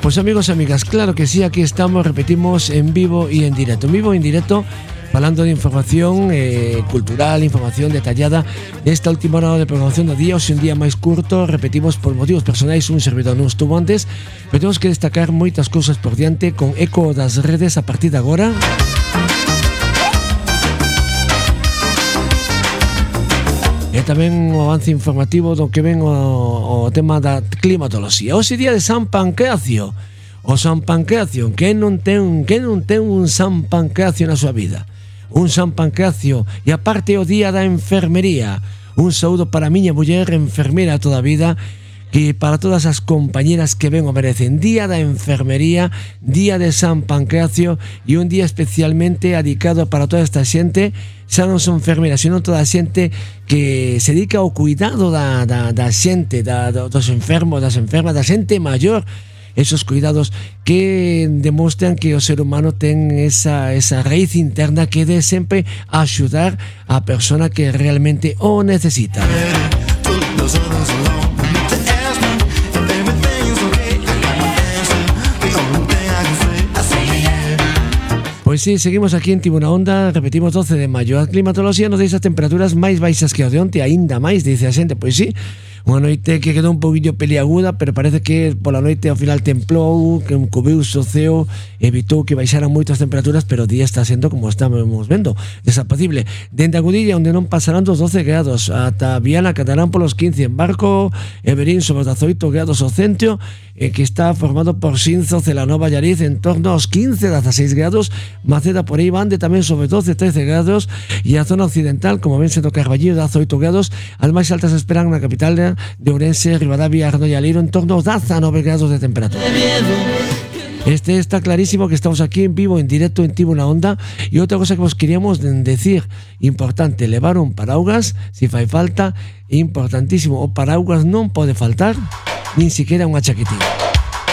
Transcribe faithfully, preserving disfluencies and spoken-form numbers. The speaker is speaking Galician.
Pues amigos y amigas, claro que sí, aquí estamos, repetimos, en vivo y en directo. En vivo y en directo, hablando de información eh, cultural, información detallada desta última hora de programación do día. Hoxe un día máis curto, repetimos, por motivos personais, un servidor non estuvo antes, pero temos que destacar moitas cousas por diante con eco das redes a partir de agora. E tamén o avance informativo do que ven o, o tema da climatoloxía. Hoxe día de San Pancracio. O San Pancracio, que non ten, que non ten un San Pancracio na súa vida. Un San Pancracio, e aparte o día da enfermería. Un saúdo para a miña muller enfermera toda a vida, que para todas as compañeras que ben o merecen. Día da enfermería, día de San Pancracio, e un día especialmente dedicado para toda esta xente, xa non son enfermeras, sino toda a xente que se dedica ao cuidado da, da, da xente, da, dos enfermos, das enfermas, da xente maior. Esos cuidados que demostran que o ser humano ten esa, esa raíz interna que de sempre axudar a persona que realmente o necesita. Pois sí, seguimos aquí en Tribuna Onda, repetimos doce de maio. A climatoloxía nos deixa as temperaturas máis baixas que o de onte, aínda máis, dice a xente. Pois sí, unha noite que quedou un poquinho peliaguda, pero parece que pola noite ao final templou, que cubiuse o ceo, evitou que baixaran moito as temperaturas, pero o día está sendo, como estamos vendo, desapacible. Dende a Gudilla, onde non pasarán dos doce grados, ata Viana catarán polos quince, en Barco e Verín sobre os dezaoito grados o centro, eh, que está formado por Xinzo, Celanova, Allariz, en torno aos quince, dezaseis grados, Maceda por aí bande tamén sobre doce, trece grados, e a zona occidental, como ven sendo Carballiño, dezaoito grados, as máis altas esperan na capital de Ourense, Ribadavia, Arno e Aliro, en torno aos dezanove grados de temperatura. Este está clarísimo que estamos aquí en vivo, en directo, en Tribuna Onda. E outra cosa que vos queríamos decir, importante, levar un paraugas si fai falta, importantísimo, o paraugas non pode faltar, nin siquiera unha chaquetilla.